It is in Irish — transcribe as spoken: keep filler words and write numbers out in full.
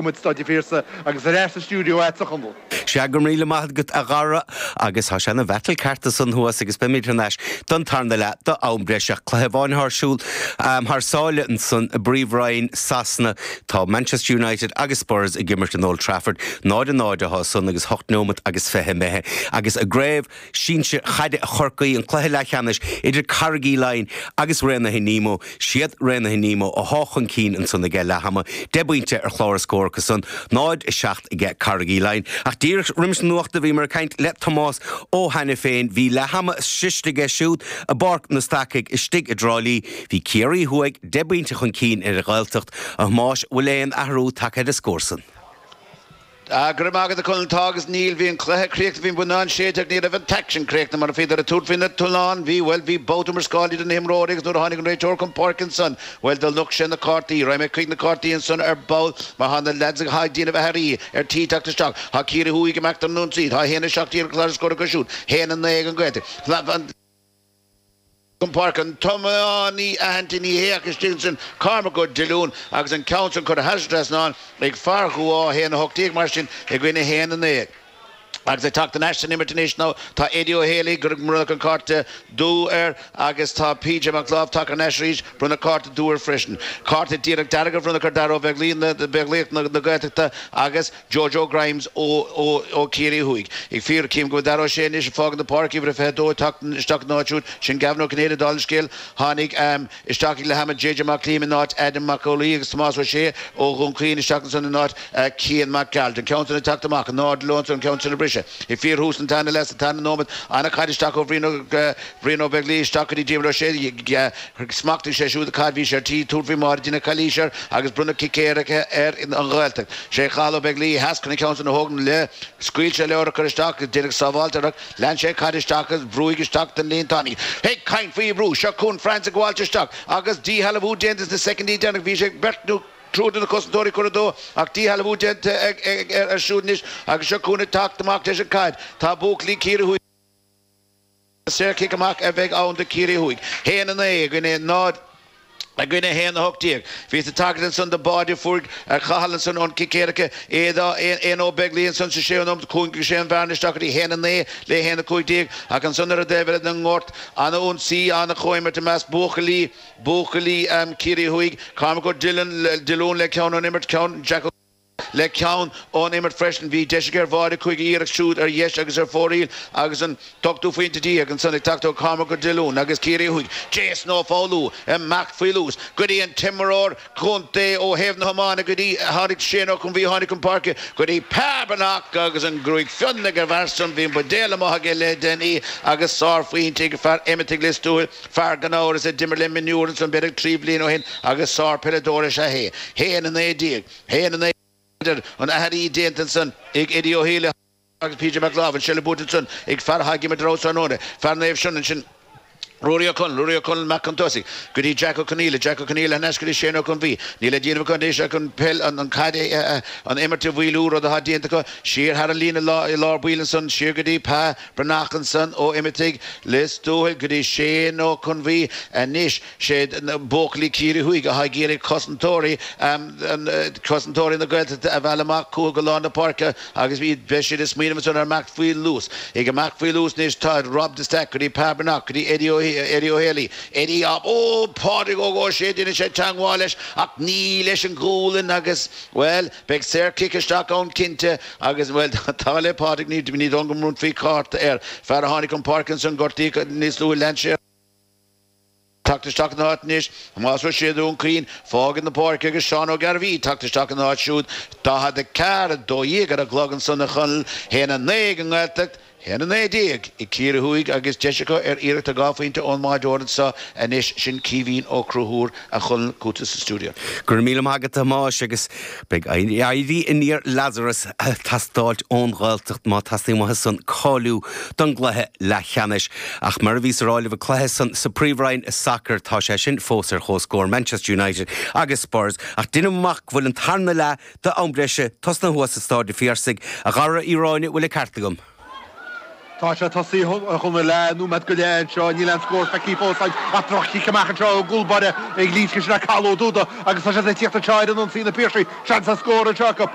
Muid Staid an Phiarsaigh agus ar ais sa stiúideo agat, a Chonaill. Sea, go raibh míle maith agat, a Dhara, agus tá sé ina bhattle ceart ansan thuas agus beimid thar n-ais don tarna leath d'am breise. Cluiche amháin ar siúl thar sáile ansan i bPríomhroinn Sasana. Tá Manchester United agus Spurs ag imirt in Old Trafford. Náid a náid atá san agus hocht nóimeat agus fiche imithe. Agus i gcraobh sinsir chaide Chorcaí, an cluiche leathcheannais idir Carraig Uí Leighin agus Raonaithe Nemo. Siad Raonaithe Nemo athá chun cinn ansan aige leath ama, deich bpointe ar chlár an scóir acu san, náid a seacht aige Carraig Uí Leighin. Ach díreach roimis na nuachta bhíomar ag caint le Tomás Ó hAiniféin. Bhí leath ama sroiste aige siúd i bPáirc na Stacaigh istigh i dTrá Lí. Bhí Ciarraí Thuaidh deich bpointe chun cinn ar an Ghaeltacht. A Thomáis, bhfuil aon athrú tagtha ar an scór san? Ah, go raibh maith agat, a Chonaill. Tá agus níl. Bhí an cluiche críochnaithe, bhí an buinneán séidte ach ní raibh an t-aicsean críochnaithe mar bhíodar ag tabhairt faoi na tolláin. Bhí, bhuel, bhí babhta iomrascáil idir na himreoirí agus nuair a tháinig an réiteoir chun páirce ansan, bhuel, do nocht sé na cártaí. Raghaidh mé chuig na cártaí ansan ar ball mar tá na leaids atá ag déanamh aithrí ar tí teacht isteach. Tá Ciarraí Thuaidh ag imeacht ar an ionsaí. Tá a haon a seacht déag ar chlár na scór acu siúd. haon a naoi ag an Ghaeltacht. Chun páirce an t-iománaí aitheanta ní hé ach istigh ansin Cormac Ó Diolúin agus an ceann sin curtha thar an trasnán ag fear Dhubh Átha, a haon a hocht déag mar sin i gcoinne a haon a naoi. Agus ag teacht in ais san imirt anois nó tá Eddie Ó Héalaí gur bronnadh an cárta dubh air agus tá P J Mac Láimh tagtha in ais arís, bronnadh cárta dubh air freisin. Cárta díreach dearg a bhronnadh ar Dara Ó Beaglaoich na Gaeltachta agus Jojo Grimes ó Chiarraí Thuaidh. Ag fiafraí, Cím go bhfuil Dara Ó Sé anois ag fágaint na páirce, uimhir a fiche a dó ag teacht isteach ina áit siúd. Sin Gavin Ó Cinnéide, dála an scéil. Tháinig isteach ag leath ama J J Mac Liam in áit Adam Mac Amhlaigh agus Tomás Ó Sé ó Dhún Chaoin isteach ansan in áit Cian Mac Gearailt. An ceann san ag teacht amach in airde leo ansan, an ceann sin a briseadh. Ag fíorthús an tarna leath sa tarna nóiméad, an-chaid isteach ó Bhrian Ó Beaglaoich isteach go dtí Diarmuid Ó Sé. Smachtaigh sé siúd an chaid, bhí sé ar tí tabhairt faoi bháide, deineadh calaois air agus bronnadh cic éirice ar an Ghaeltacht. Sé Cathal Ó Beaglaoich theas chun an ceann san a thógaint le scaoil sé leor a chur isteach agus deineadh sábháilt air ach lean sé an chaid isteach agus bhrúigh isteach don líontán í. Ag caint faoi bhrú, seo chugainn France ag gabháilt isteach agus díshealbhú déanta sna soicindí deireanacha. Bhí sé beirt nó triúr de na cosantóirí curtha dó ach díshealbhú déanta air siúd anois agus seo chugainn ag teacht amach leis an chaid. Tá buachaillí Chiarraí Thuaidh. Saorchic amach a bheidh ann do Chiarraí Thuaidh. haon a naoi i gcoinne náid i gcoinne haon a hocht déag. Bhíos ag tagairt ansan do bháide a fuair Cathal ansan ón cic éirice. Aodh Ó Beaglaoich ansan sa séú nóimeat. Chúngaigh sé an bhearna isteach go dtí haon a naoi le haon a cúig déag ach ansan ar an dtaobh eile den ngort, ana-ionsaí, ana-chomhimirt i measc buachaillí, buachaillí Chiarraí Thuaidh. Cormac Ó Diolúin le ceann ón imirt, ceann Jack Ó. Le ceann ón imirt freisin. Bhí deis aige ar bháide cúig iarracht siúd ar dheis agus ar fóraoil agus an t-ochtú phointe déag ansan ag teacht ó Chormac Ó Diolúin agus Ciarraí Thuaidh. Jason Ó Foghlú ag imeacht faoi luas go dtí an t-imreoir contae ó thaobh na hiomána go dtí tháinig Shane Ó Conbhuí tháinig chun páirce go dtí Pa Breathnach agus an ghruaig fionn ag an bhfear san. Bhí an buidéal amuigh aige le déanaí agus sárphointe ag fear Imataigh Lios Tuathail, fear gan amhras a d'imir le mionúir ansan b'fhéidir trí bliana ó shin agus sárpheileadóir is ea é. haon a naoi déag. haon a naoi déag an aithrí déanta ansan ag Eddie Ó hÉalaí agus P J Mac Láimh, an seilbh buaite ansan ag fear atá ag imirt ar fheabhas tráthnóna, fear Naomh Senan sin Ruairí Ó Conaill, Ruairí Ó Conaill amach chun tosaigh go dtí Jack Ó Conaola, Jack Ó Conaola thar n-ais go dtí Shane Ó Conbhuí. Níl le déanamh acu anois ach an peil, an caid, an imirt a mhaolú, rud atá déanta acu, siar thar an líne i lár baill ansan, siar go dtí Pa Breathnach ansan ó Imataigh Lios Tuathail go dtí Shane Ó Conbhuí anois. Sé buachaillí Ciarraí Thuaidh atá ag iarraidh cosantóirí cosantóirí na Gaeltachta a mhealladh amach chucu go lár na páirce agus beidh siad ag smaoineamh ansan ar imeacht faoi luas. Ag imeacht faoi luas anois tá Rob de Staic go dtí Pa Breathnach go dtí Eddie Ó Eddie Ó Héalaí. Eddie á Ó Pádraig Óg Ó Sé déanann sé teangmháil leis ach ní leis an ghualainn agus, bhuel, beidh saor-chic isteach ann cinnte agus, bhuel, tá le Pádraig ní ní dóigh go mbronnfaí cárta air. Fear a tháinig chun páirce ansan gortaíodh níos luaithe lean sé. Teacht isteach ina áit anois, Tomás Ó Sé Dún Chaoin, fágaint na páirce agus Seán Ó Gairbhí teacht isteach ina áit siúd. daichead a ceathair, a dó dhéag ar an gclog ansan a Chonaill, haon a naoi ag an nGaeltacht, haon a naoi déag ag Ciarraí Thuaidh agus deis acu ar iarracht ar dhá phointe ón mbáideoir anso anois, sin Caoimhín Ó Conchúir, a Chonaill, chugatsa sa stiúideo. Go raibh míle maith agat a Thomáis agus beidh éirí aniar Lazarus ag teastáilt ón Ghaeltacht má teastaíonn uathu san cáiliú don gcluiche leathcheannais. Ach mar a bhíos a rá libh an cluiche san sa Príomhroinn i sacar tá sé sin fós ar chomhscór, Manchester United agus Spurs. Ach deinim amach go bhfuil an tarna leath d'am breise tosnaithe thuas i Stáid an Phiarsaigh. A Dhara Uí Ráinne, bhfuil an ceart agam? Tá sé tosaithe chun le nóiméad go leith anseo níl an scór feicthe fós ach droch-chic amach anseo ó gúlbáire ag Laois sin Cathal Ó Dúda agus tá sé ag tíocht anseo ar an ionsaí na Piarsaigh seans ar scór anseo acu.